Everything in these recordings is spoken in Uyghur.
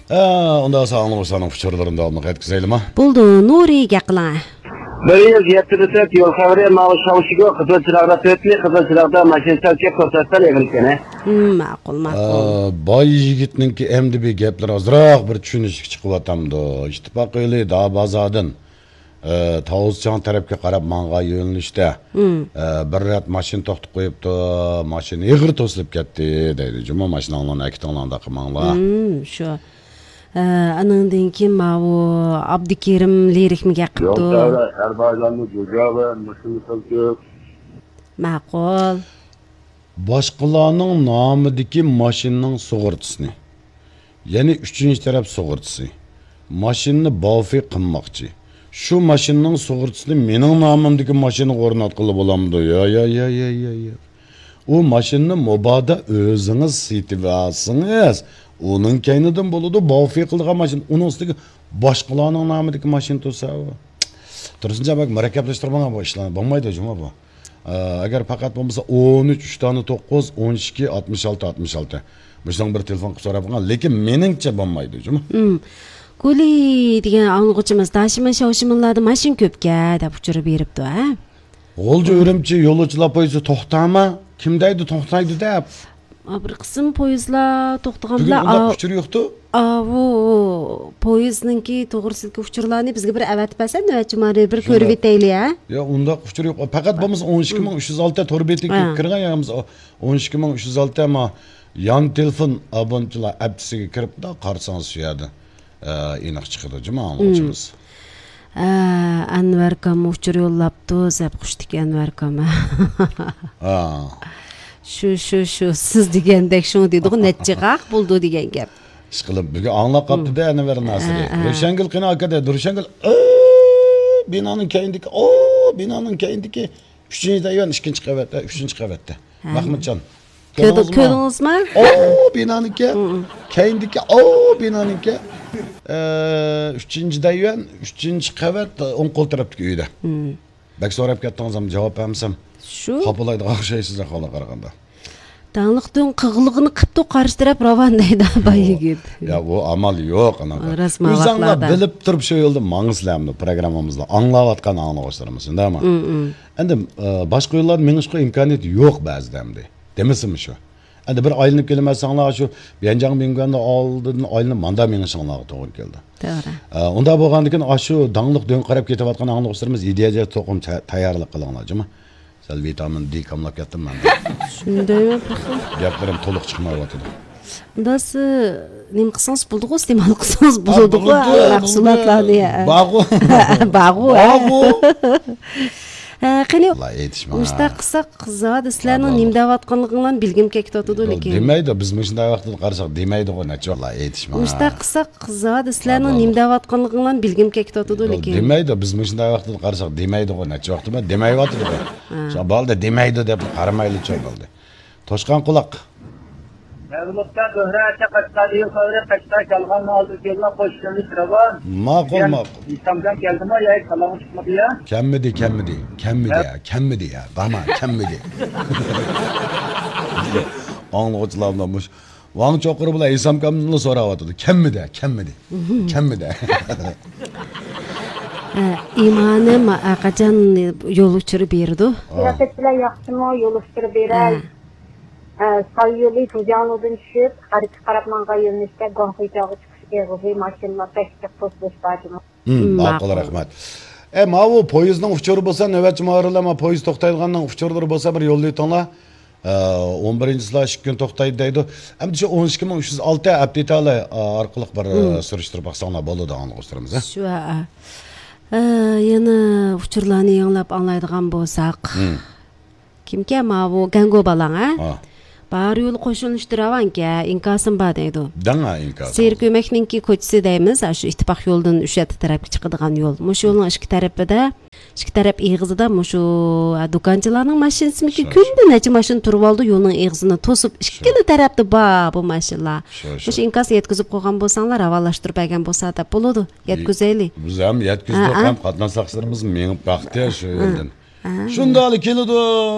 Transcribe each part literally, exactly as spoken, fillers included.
ئە، ئۇنداق بولسا ئاڭلىغۇچىلارنىڭ ئۇچۇرلىرىنى داۋاملىق يەتكۈزەيلىما؟ بولدى، نۇرى، گەپ قىلىڭ. بىر يۈز يەتتە تۆت يول خەۋىرى، ماۋۇ شاۋشىگو، قىزىل چىراغدا تۆتنى، قىزىل چىراغدا ماشىنا چاپكەپ توساتتىن ئېغىر ئىكەن. ھىم، ماقۇل، ماقۇل. ئە، باي يىگىتنىڭكى ئەمدى بىر گەپلىرى ئازراق بىر چۈشىنىشلىك چىقىۋاتامدۇ؟ ئىتتىپاق يولى دابازادىن، ئە، تاۋۇزچاڭ تەرەپكە قاراپ ماڭغان يۆنىلىشتە، ھىم. ئە، بىر رەت ماشىنا توختىتىپ قويۇپتۇ، ماشىنا ئېغىر توسۇلۇپ كەتتى دەيدۇ. جۇمۇ ماشىناڭلارنى ئەكېتىڭلار ئانداق قىلماڭلار. ھىم، شۇ. ئە، ئانىڭدىن كېيىن ماۋۇ ئابدۇكېرىم لىرىكمىگە قىپتۇ. يول تەۋرە، ئەربايلارنى جۇجا ۋە مۇشۇ خىل كۆپ. ماقۇل. باشقىلارنىڭ نامىدىكى ماشىنىنىڭ سۇغۇرتىسىنى، يەنى ئۈچىنچى تەرەپ سۇغۇرتىسى، ماشىنىنى باۋفى قىلماقچى. شۇ ماشىنىنىڭ سۇغۇرتىسىنى مېنىڭ نامىمدىكى ماشىنىغا ئورناتقىلى بولامدۇ؟ يا، يا، يا، يا، يا، يا. ئۇ ماشىنىنى مۇبادا ئۆزىڭىز سېتىۋالسىڭىز، ئۇنىڭ كەينىدىن بولىدۇ، باۋفى قىلىدىغان ماشىنا. ئۇنىڭ ئۈستىگە باشقىلارنىڭ نامىدىكى ماشىنا تۇرسا، ئۇ. تۇرسۇنجان بەك مۇرەككەپلەشتۈرمەڭ بۇ ئىشلارنى. بولمايدۇ جۇمۇ بۇ. ئە، ئەگەر پەقەت بولمىسا ئون ئۈچ، ئۈچ دانە توققۇز، ئون ئىككى، ئاتمىش ئالتە، ئاتمىش ئالتە. مۇشۇنىڭ بىر تېلېفون قىلىپ سوراپ باققان. لېكىن مېنىڭچە بولمايدۇ جۇمۇ. ھىم. گۇلى دېگەن ئاڭلىغۇچىمىز، داشىمىن شاۋشىمىنلاردا ماشىنا كۆپكەن دەپ ئۇچۇر بېرىپتۇ، ھە؟ غۇلجا ئۈرۈمچى يولۇچىلار پويىزى توختاما؟ كىم دەيدۇ توختايدۇ دەپ؟ ئا، بىر قىسىم پويىزلار توختىغان بۈگۈن بىلەن ئۇنداق ئا-، ئۇچۇر يوقتۇ. ئاۋۇ پويىزنىڭكى توغرىسىدىكى ئۇچۇرلارنى بىزگە بىر ئەۋەتىپ بەرسەن، نۆۋەتچى مۇھەررىر، بىر شۇنداق. كۆرۈۋېتەيلى، ھە؟ يا، ئۇنداق ئۇچۇر يوق. پەقەت بولمىسا ئون ئىككى مىڭ ئۈچ يۈز ئالتە تور بېتىگە ھە. كىرگەن يا بولمىسا ئون ئىككى مىڭ ئۈچ يۈز ئالتە ما يان تېلېفون ئابونتلار ئەپتىسىگە كىرىپ دا قارىسىڭىز شۇ يەردە، ئە، ئېنىق چىقىدۇ جۇمۇ ئاڭلىغۇچىمىز. ھە، ئەنۋەركام ئۇچۇر يوللاپتۇ، زەپ خۇشتىكى ئەنۋەركام. ھا. شۇ، شۇ، شۇ، سىز دېگەندەك شۇ دېدىغۇ، نەچچە قاق بولدى دېگەن گەپ. ئىشقىلىپ، بۈگۈن ئاڭلاپ قاپتۇ-دە، ئەنۋەر ناسىرى. ھە، ھە. روشەنگۈل قېنى ئاكا دەيدۇ. روشەنگۈل، ئو، بىنانىڭ كەينىدىكى، ئو، بىنانىڭ كەينىدىكى ئۈچىنچى دەيۋەن، ئىككىنچى قەۋەت، ئە، ئۈچىنچى قەۋەتتە. ھە. مەخمۇتجان. كۆردى-، كۆردىڭىزمۇ؟ كۆردىڭىزمۇ؟ ئو، بىنانىڭكى. ھە، ھە. كەينىدىكى، ئو، بىنانىڭكى. ئە، ئۈچىنچى دەيۋەن، ئۈچىنچى قەۋەت، ئوڭ قول تەرەپتىكى ئۆيدە. ھە. بەك سوراپ كەتتىڭىز، ئەمما جاۋاب بەرمىسەم، شۇ. خاپىلايدىغان ئوخشايسىز ئەھۋالغا قارىغاندا. داڭلىق دۆڭ قىغلىقىنى قىپتۇ، قارشى تەرەپ راۋان دەيدۇ، باي يىگىت. يا، ئۇ ئامال يوق، ئاناقا. راست، ئۆزۈڭلار بىلىپ تۇرۇپ شۇ يولدا ماڭىسىلەرمۇ، پروگراممىمىزدا ئاڭلاۋاتقان ئاڭلىغۇچىلىرىمىز، شۇنداقمۇ؟ ئەمدى، ئە، باشقا يوللاردا مېڭىشقا ئىمكانىيەت يوق بەزىدە ئەمدى. دېمىسىمۇ شۇ. ئەمدى بىر ئايلىنىپ كېلىمەن ساڭلار، شۇ بيەنجاڭ مىڭگۈەننىڭ ئالدىدىن ئايلىنىپ ماندا مېڭىشىڭلارغا توغرا كېلىدۇ. توغرا. ئە، ئۇنداق بولغاندىكىن، ئاشۇ داڭلىق دۆڭ قاراپ كېتىۋاتقان ئاڭلىغۇچىلىرىمىز يېدى ھەجەت توقۇم تە-، تەييارلىق قىلىڭلار، جۇمۇ. سەل ۋىتامىن دې كاملاپ كەتتىم مەن. شۇنداقمۇ؟ گەپلىرىم تولۇق چىقمايۋاتىدۇ. ئۇنداق سىز نېمە قىلسىڭىز بولىدىغۇ، ئىستېمال قىلسىڭىز بولىدىغۇ، بولىدۇ، ھە، مەھسۇلاتلارنى، ھە. بارغۇ. بارغۇ، ھە. بارغۇ. ھە، قېنى، مۇشۇنداق قىلساق، زادى سىلەرنىڭ نېمە دەۋاتقانلىقىڭلارنى بىلگۈم كېلىپ كېتىۋاتىدۇ، لېكىن. دېمەيدۇ، بىز مۇشۇنداق ۋاقىتتا قارىساق دېمەيدىغۇ، نەچچە ۋاقىت ئېيتىشما. مۇشۇنداق قىلساق، زادى سىلەرنىڭ نېمە دەۋاتقانلىقىڭلارنى بىلگۈم كېلىپ كېتىۋاتىدۇ، لېكىن. دېمەيدۇ، بىز مۇشۇنداق ۋاقىتتا قارىساق دېمەيدىغۇ، نەچچە ۋاقىتتا دېمەيۋاتىدۇ. ھە. شۇ بالدا دېمەيدۇ دەپ قارىمايلى، چوڭ بالدا. توشقان قۇلاق. مەغلۇبكە زۆھرە ئاچا قەشقەر يول خەۋىرى، قەشقەر كەلغان ئالدى كېلىلا قوش كۆرۈنۈش راۋان. ماقۇل، ماقۇل. ئىسلامجان كەلدىمۇ يا سالامى چىقمىدى يا؟ كەممىدى، كەممىدى، كەممىدى يا، كەممىدى يا، بارما، كەممىدى. ئاڭلىغۇچىلار بىلەن مۇش-، ۋاڭ چوقۇر بىلەن ھېسام كامنىلا سوراۋاتىدۇ. كەممىدى، كەممىدى، كەممىدى. ئە، ئىمانىم، ئە، قاچان يول ئۇچۇرى بېرىدۇ؟ سىياسەتچىلەر ياخشىمۇ؟ يول ئۇچۇرى بېرەي. ئە، ساي يولى تۇجياڭلۇدىن چۈشۈپ، غەربكە قاراپ ماڭغان يۆنىلىشتە گۇاڭخۇيچاۋغا چىقىش ئېغىزى، ماشىنىلار بەك جىق توسۇلۇش بار جۇمۇ. ھىم، ماقۇل، ماقۇل. رەھمەت. ئە، ماۋۇ پويىزنىڭ ئۇچۇرى بولسا، نۆۋەتچى مۇھەررىرلەر، ما پويىز توختايدىغاننىڭ ئۇچۇرلىرى بولسا، بىر يوللىۋېتىڭلار. ئە، ئون بىرىنچى سلاش ئىككى كۈن توختايدۇ دەيدۇ. ئەمدى شۇ ئون ئىككى مىڭ ئۈچ يۈز ئالتە ئەپتىتالى، ئە، ئارقىلىق بىر، ئە، سۈرۈشتۈرۈپ باقساڭلار بولىدۇ، ئاڭلىغۇچىلىرىمىز، ھە؟ شۇ، ھە. ئە، يەنە ئۇچۇرلارنى يېڭىلاپ ئاڭلايدىغان بولساق. كىمكەن ماۋۇ گەڭگو بالاڭ، ھە؟ ھا. بار يول قوشۇلۇشتا راۋانكەن، ئىنكاسىم بار دەيدۇ. دەڭ ھە ئىنكاسىڭ. سېرىك ئۆمەكنىڭكى كوچىسى دەيمىز، ھە، شۇ ئىتتىپاق يولىدىن ئۈشەتتە تەرەپكە چىقىدىغان يول. مۇشۇ يولنىڭ ئىككى تەرىپىدە، ئىككى تەرەپ ئېغىزىدا مۇشۇ، ھە، دۇكانچىلارنىڭ ماشىنىسىمىكى، شۇ، شۇ. كۈندە نەچچە ماشىنا تۇرۇۋالىدۇ، يولنىڭ ئېغىزىنى توسۇپ، شۇ. ئىككىلا تەرەپتە بار بۇ ماشىنىلار. شۇ، شۇ. مۇشۇ ئىنكاسنى يەتكۈزۈپ قويغان بولساڭلار، راۋانلاشتۇرۇپ بەرگەن بولسا دەپ بولىدۇ. يەتكۈزەيلى. بىز ھەم يەتكۈزدۇق، ھە، ھە. ھەم قاتناش ساقچىلىرىمىز مېڭىپ باقتى شۇ يەردىن. ھە. شۇنداقلا كېلىدۇ،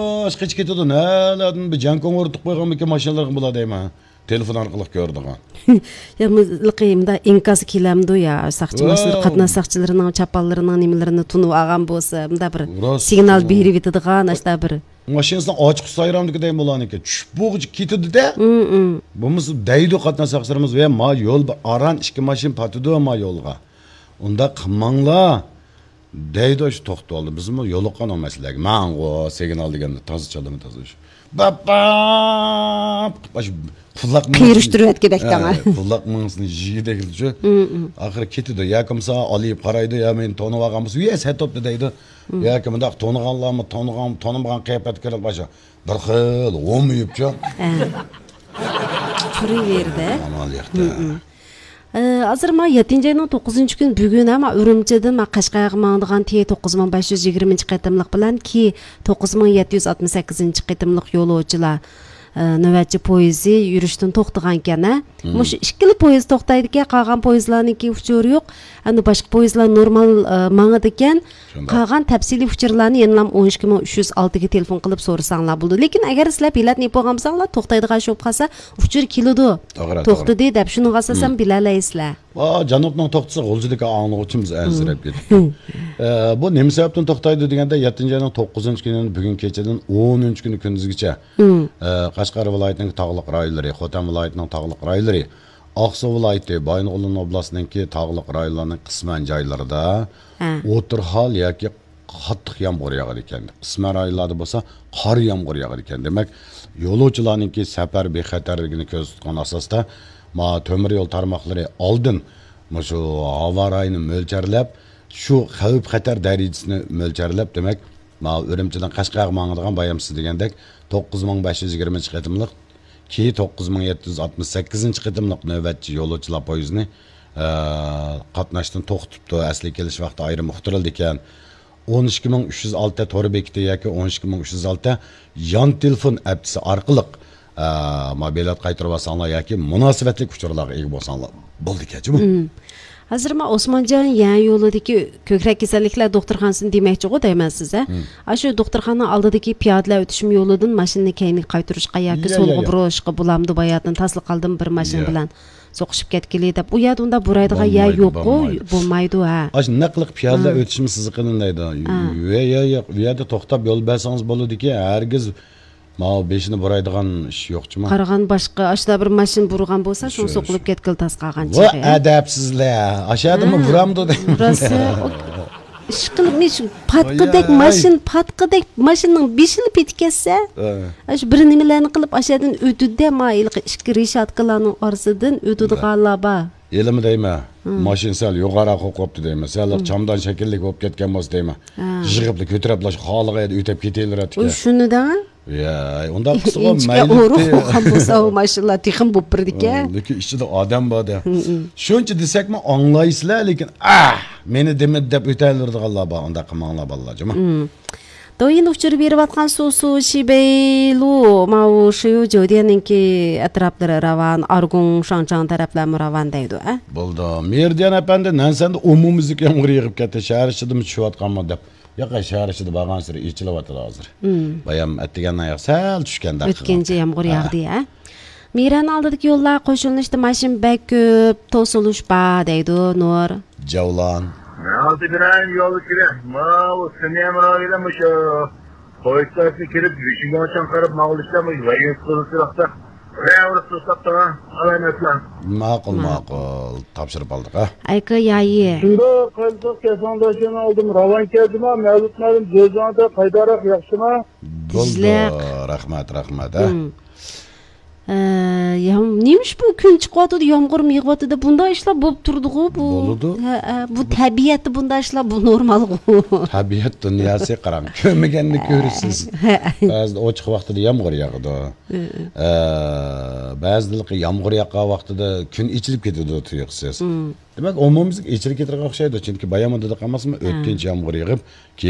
قېچىپ كېتىدۇ. نەلەردىن بىر جەڭكوڭ ئۇرتۇق قويغانمىكىن ماشىنىلارغا بۇلار دەيمەن. تېلېفون ئارقىلىق كۆرىدىغان. يا مۇنداق ئىنكاس كېلەمدۇ يا، ساقچى ماشىنىلىرى، قاتناش ساقچىلىرىنىڭ چاپانلىرىنىڭ نېمىلىرىنى تونۇپ ئالغان بولسا، مۇنداق بىر سىگنال بېرىۋېتىدىغان، ئاشتا بىر. ماشىنىسىنى ئاچقۇچ سايرامدىكى دەيمۇ ئۇلارنىڭكى چۈشۈپ بولغۇچە كېتىدۇ-دە. بولمىسا دەيدۇ قاتناش ساقچىلىرىمىز، ۋە ما يول بار، ئاران ئىككى ماشىنا پاتىدۇ ما يولغا. ئۇنداق قىلماڭلار. دەيدۇ، شۇ توختىۋالدى. بىزمۇ يولۇققان ئۇ مەسىلىگە. ماڭغۇ، سىگنال دېگەندە تازا چالىمى تازا شۇ. باپاپ! ئاشۇ قۇلاق مېڭىسىنى قېرىشتۇرۇۋەتكۈدەك دەڭە. ھە، قۇلاق مېڭىسىنى يېگۈدەك شۇ. ئاخىرى كېتىدۇ. ياكى بولمىسا ئالىيىپ قارايدۇ، يا مېنى تونۇۋالغان بولسا، يە سەتوپتا دەيدۇ. ياكى مۇنداق تونۇغانلارمۇ، تونۇغان، تونۇمىغان قىياپەتكە كىرىپ باشا. بىر خىل ھومىيىپچۇ. ھە. تۇرۇۋېرىدۇ. ئامال يوق-دە. ئە، ھازىر ما يەتتىنچى ئاينىڭ توققۇزىنچى كۈنى بۈگۈن ھە، ما ئۈرۈمچىدىن ما قەشقەرگە ماڭىدىغان تى توققۇز مىڭ بەش يۈز يىگىرمىنچى قېتىملىق بىلەن كى توققۇز مىڭ يەتتە يۈز ئاتمىش سەككىزىنچى قېتىملىق يولۇچىلار، ئە، نۆۋەتچى پويىزى يۈرۈشتىن توختىغانكەن ھە. مۇشۇ ئىككىلا پويىز توختايدىكەن، قالغان پويىزلارنىڭكى ئۇچۇرى يوق. ئەمدى باشقا پويىزلار نورمال، ئە، ماڭىدىكەن. شۇنداق. قالغان تەپسىلىي ئۇچۇرلارنى يەنىلا ئون ئىككى مىڭ ئۈچ يۈز ئالتىگە تېلېفون قىلىپ سورىساڭلار بولىدۇ. لېكىن ئەگەر سىلەر بېلەتنى يېپىۋالغان بولساڭلار، توختايدىغان ئىش بولۇپ قالسا، ئۇچۇر كېلىدۇ. توغرا، توغرا. توختىدى دەپ، شۇنىڭغا ئاساسەن بىلەلەيسىلەر. ۋا، جانۇبنىڭ توختىسى غۇلجىدىكى ئاڭلىغۇچىمىز ئەنسىرەپ كېتىپتۇ. ئە، بۇ نېمە سەۋەبتىن توختايدۇ دېگەندە، يەتتىنچى ئاينىڭ توققۇزىنچى كۈنىدىن بۈگۈن كېچىدىن ئونىنچى كۈنى كۈندۈزگىچە، ئە، قەشقەر ۋىلايىتىنىڭ تاغلىق رايونلىرى، خوتەن ۋىلايىتىنىڭ تاغلىق رايونلىرى، ئاقسۇ ۋىلايىتى، بايىنغولىن ئوبلاستىنىڭكى تاغلىق رايونلارنىڭ قىسمەن جايلىرىدا ھە. ئوتتۇرا ھال ياكى قاتتىق يامغۇر ياغىدىكەن. قىسمەن رايونلاردا بولسا قار يامغۇر ياغىدىكەن. دېمەك، يولۇچىلارنىڭكى سەپەر بىخەتەرلىكىنى كۆزدە تۇتقان ئاساستا، ما تۆمۈر يول تارماقلىرى ئالدىن مۇشۇ ھاۋا رايىنى مۆلچەرلەپ، شۇ خەۋپ خەتەر دەرىجىسىنى مۆلچەرلەپ، دېمەك، ما ئۈرۈمچىدىن قەشقەرگە ماڭىدىغان بايام سىز دېگەندەك توققۇز مىڭ بەش يۈز يىگىرمىنچى قېتىملىق كى توققۇز مىڭ يەتتە يۈز ئاتمىش سەككىزىنچى قېتىملىق نۆۋەتچى يولۇچىلار پويىزىنى، ئە، قاتناشتىن توختىتىپتۇ. ئەسلىگە كېلىش ۋاقتى ئايرىم ئۇقتۇرۇلىدىكەن. ئون ئىككى مىڭ ئۈچ يۈز ئالتە تور بېكىتى ياكى ئون ئىككى مىڭ ئۈچ يۈز ئالتە يان تېلېفون ئەپچىسى ئارقىلىق، ئە، ما بېلەت قايتۇرۇۋالساڭلار ياكى مۇناسىۋەتلىك ئۇچۇرلارغا ئىگە بولساڭلار بولىدىكەنچۇ بۇ. ھازىر ما ئوسمانجان يەر يولىدىكى كۆكرەك كېسەللىكلەر دوختۇرخانىسىنى دېمەكچىغۇ دەيمەن سىز ھە؟ ئاشۇ دوختۇرخانا ئالدىدىكى پىيادىلەر ئۆتۈشۈم يولىدىن ماشىنىنى كەينىگە قايتۇرۇشقا ياكى يا، يا، سولغا يا. بۇرۇشقا بولامدۇ، باياتىن تاسلا قالدىم بىر ماشىنا يا. بىلەن سوقۇشۇپ كەتكىلى دەپ. ئۇ يەردە ئۇنداق بۇرايدىغان يەر بولمايدۇ، يوققۇ، بولمايدۇ. بولمايدۇ ھە. ئاشۇ نەق قىلىپ پىيادىلەر ھە. ئۆتۈشىمۇ سىزىقىنى دەيدۇ. ھە. يا، يا، يا، ئۇ يەردە توختاپ يول بەرسىڭىز بولىدىكى، ھەرگىز ماۋۇ بېشىنى بۇرايدىغان ئىش يوقچىما؟ قارىغان باشقا، ئاشۇنداق بىر ماشىنا بۇرغان بولسا، شۇ، شۇ، سوقۇلۇپ شۇ. كەتكىلى تاس قالغان ۋا چېغى. ئەدەپسىزلەر! ئاشۇ يەردىمۇ ھە. بۇرامدۇ دەيمەن. بۇراسا، ئىشقىلىپ، مۇشۇ پاتقىدەك ۋاياي. ماشىنا، پاتقىدەك ماشىنىنىڭ بېشىنى پېتىكەتسە، ھە. ئاشۇ بىر نېمىلەرنى قىلىپ، ئاشۇ يەردىن ئۆتىدۇ-دە، ما ھېلىقى ئىككى رېشاتكىلارنىڭ ئارىسىدىن ئۆتىدىغانلار بار. ھېلىمۇ دەيمەن، ھە. ماشىنا سەل يوغانراق قوقۇپتۇ دەيمەن، سەل ھە. چامدان شەكىللىك بولۇپ كەتكەن بولسا دەيمەن. ھە. يىغىپلا كۆتۈرۈپلا شۇ خالىغان يەردە ئۆتۈپ كېتىۋېرەتتىكەن. ئۇ شۇنى دەڭ. يا، ئۇنداق قىلسىغۇ ئىنچىكە مەيلى. ئورۇق بولغان بولسا، ئۇ ماشىنىلار تېخىمۇ بولۇپ بېرىدىكەن. لېكىن ئىچىدە ئادەم بار-دە. ھم، ھم. شۇنچە دېسەكمۇ ئاڭلايسىلەر، لېكىن، ئاھ، مېنى دېمىدى دەپ ئۆتەلەيدىغانلار بار، ئۇنداق قىلماڭلار، بالىلار، جۇمۇ. ھم. دويىن ئۇچۇر بېرىۋاتقان سۇ، سۇ شىبەيلۇ، ماۋۇ شيۇ جوديەننىڭكى ئەتراپلىرى راۋان، ئارگۇڭ، شاڭچاڭ تەرەپلەرمۇ راۋان دەيدۇ، ئە؟ بولدى. مېرىدىيان ئەپەندى، نەنسەندە ئومۇميۈزلۈك يامغۇر يېغىپ كەتتى، شەھەر ئىچىدىمۇ چۈشۈۋاتقانمۇ دەپ. ياق، شەھەر ئىچىدە بارغانسېرى ئېچىلىۋاتىدۇ ھازىر. مم. بايام ئەتىگەندىن ئاياغ سەل چۈشكەندەك مۆتكەنچە قىلغان. يامغۇر ھە. ياغدى، ھە؟ مىرەننىڭ ئالدىدىكى يوللار قوشۇلۇشتا ماشىنا بەك كۆپ، توسۇلۇش بار دەيدۇ نۇر. جەۋلان. مەن ئالدى بىرەر يول كېرەك. ماۋۇ سىنىيەم رايونى مۇشۇ پويىستاسى كىرىپ، يۈشۈگۈڭچان قاراپ ماڭغۇلۇچتا مۇشۇ ۋەيىن سۇلۇسىراقتا. بىرەۋرە توساپ تۇرغان ئالامەتلەر. ماقۇل، ماقۇل. ماقۇل. تاپشۇرۇپ ئالدۇق، ھە؟ ئەيكا يايى. شۇنداق قىلساق كەسەڭداشلارنى ئالدىم راۋان كەلدىما، مەۋلۇت مەلۇم جۆزاڭدا قايداراق ياخشىما؟ بولدى. رەھمەت، رەھمەت، ھە؟ ھم. ئە، يا، نېمىش بۇ كۈن چىقىۋاتىدۇ، يامغۇرمۇ يېغىۋاتىدۇ، بۇنداق ئىشلار بولۇپ تۇرىدىغۇ بۇ. بولىدۇ. ھە، ھە، بۇ بۇ تەبىئەتتە بۇنداق ئىشلار، بۇ نورمالغۇ. تەبىئەت دۇنياسى قاراڭ، كۆرمىگەننى كۆرىسىز. ھە، ھە. بەزىدە ئوچۇق ۋاقتىدا يامغۇر ياغىدۇ. ھە، ھە. ئە، بەزىدە يامغۇر ياغقان ۋاقتىدا كۈن ئېچىلىپ كېتىدۇ تۇيۇقسىز. ھم. دېمەك، ئومۇميۈزلۈك ئېچىلىپ كېتىدىغان ئوخشايدۇ. چۈنكى بايام دېدۇق ئەمەسمۇ، ھە. ئۆتكۈنچى يامغۇر يېغىپ، كى